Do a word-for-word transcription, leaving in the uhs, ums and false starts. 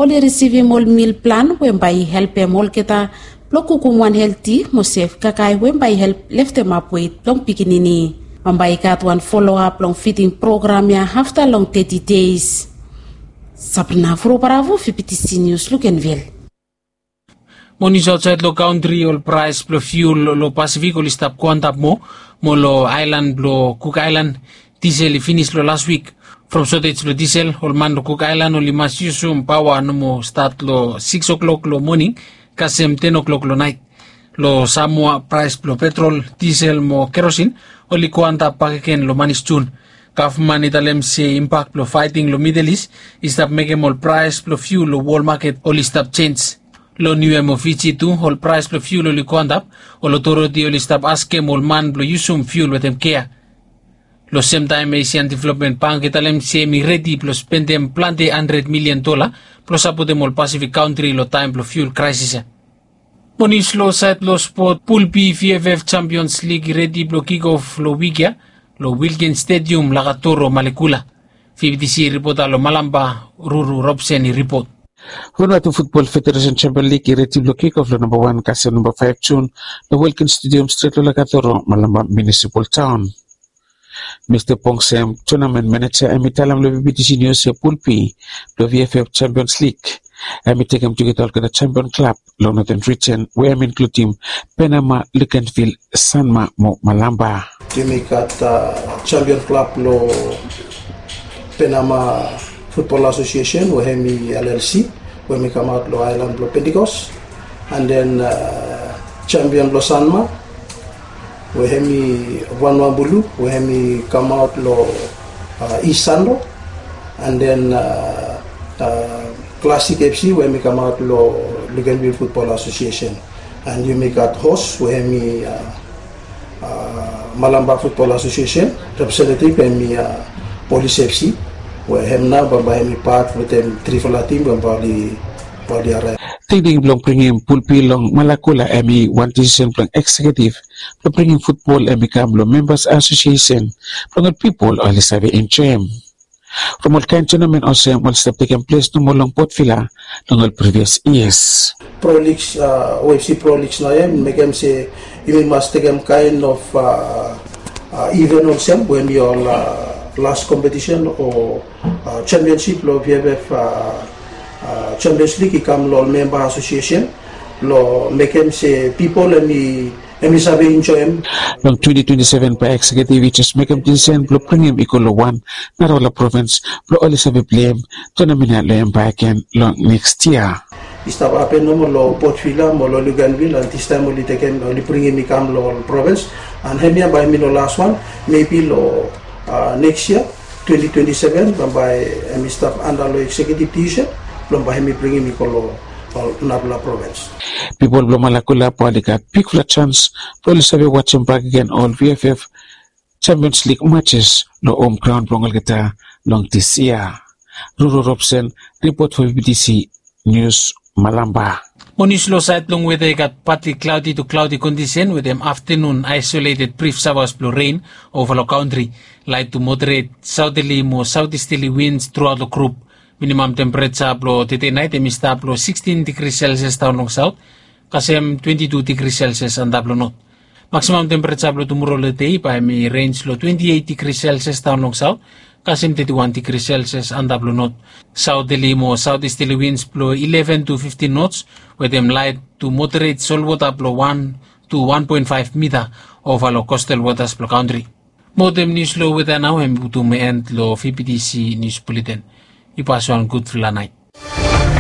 oli risivim ol mil plan we bae i helpem olgeta blong kukum wan helti mo sef kakae we bae i help leftemap wet blong pikinini. Bambae i gat wan foloap long fiding program ya afta long teti deis. Sabrina Furobaravu, fibitisi nius, Lukenvil. Mo nius aotsaed long kantri, ol praes blong fiul long Pasifik oli stap go antap moa, mo long aelan blong Kuk Aelan, disel i finis long las wik. From sotej blong disel, ol man long Kuk Aelan oli mas yusum paoa nomo stat long sikis oklok long moning kasem ten oklok long naet. Long Samoa, praes blong petrol, disel mo kerosin oli go antap bakegen long manis Jun. Gavman i talem se impak blong faeting long Midel Is i stap mekem ol praes blong fiul long wol maket oli stap jenj. Long Niue mo Fiji tu, ol praes blong fiul oli go antap, ol otoriti oli stap askem ol man blong yusum fiul wetem kea. Long semtaem, Asian Development Bank i talem se hem i redi blong spendem plante handred milian dola blong sapotem ol Pasifik kantri long taem blong fiul kraesis ya. Mo nius long saed long spot, Pul B V F F Champions League i redi blong kikof long wik ya long Wilkins Stadium, Lakatoro, Malekula. Fibitisi ripota long Malampa, Ruru Robson, i ripot. Vanuatu Futbol Federesen Champion Lig i redi blong kikof long namba wan kasem namba faef Jun long Wilkins Stadium stret long Lakatoro, Malampa Munisipal Taon. Mista Pong Sem, tonamen maneja, hem i talem long B B T C Nius se Pul B blong V F F Champions League hem i tekem tugeta olgeta champion klab long Noten Rijen, we hem i inkludim Penama, Luganville, Sanma mo Malampa. Yumi gat, a, champion klab long Penama Football Association, we hem i L L C, we hem i kamaot long aelan blong Pentecost. And then, a, champion blong Sanma, we hem i Vanua Bulu, we hem i kamaot long, a, East Sanro. And then, a, a, Classic F C, we hem i kamaot long Luganville Football Association. And yumi gat host, we hem i, a, a, Malampa Football Association, representative hem i, a, Police F C, we hem nao bambae hem i pat wetem trifala tim bambae oli, oli araev. Tingting blong bringim Pul B long Malekula hem i wan disisen blong ekseketif blong bringim futbol hem i kam long membas asosiesen blong ol pipol oli save enjoem. From ol kaen tonamen olsem oli stap tekem ples nomo long Port Vila long ol privias yias. Pro Leagues, a, O F C Pro Leagues nao ya i mekem se yumi mas tekem kaen of, a, a, iven olsem we hem i ol, a, las kompetisen o, a, championship long V F F, a, a, Champions League i kam long ol memba asosiesen blong mekem se pipol hem i hem i save enjoem. Long twenti twenti seven bae ekseketif i jes mekem disisen blong bringim i go long wan narafala provins blong oli save pleim tonamen ya long hem bakegen long neks yia. I stap hapen nomo long Port Vila mo long Luganville, and distaem oli tekem, oli bringim i kam long ol provins, and hemia bae hem i no las wan, mebi long, a, neks yia, twenti twenti seven, bambae hem i stap anda long ekseketif disisen blong bae hem i bringim i go long ol narafala provins. Pipol blong Malekula bae oli gat bigfala janis blong oli save wajem bakegen ol V F F Champions League matches long hom graon blong olgeta long dis yia. Ruru Robson, ripot fo B B T C Nius, Malampa. Mo nius long saed blong weta, i gat partly cloudy to cloudy kondisen wetem aftenun aisoleted brif saoas blong ren ova long kantri. Laet to moderet saoteli mo saotisteli wins truaot long grup. Minimam tempereja blong tede naet hem i stap long sikstin digri Celsius daon long saot kasem twenti tu digri Celsius antap long not. Maksimam tempereja blong tumoro long dei bae hem i renj long twenti eit digri Celsius daon long saot kasem teti wan digri Celsius antap long not. Saoteli mo saotisteli wins blong ileven tu fiftin nots wetem laet tu moderet solwota blong wan tu wan poen faef mita ova long kostal wotas blong kantri. Mo wetem nius long weta nao hem i putum en long V B T C Nius Buleten. Yu pas wan gudfala naet.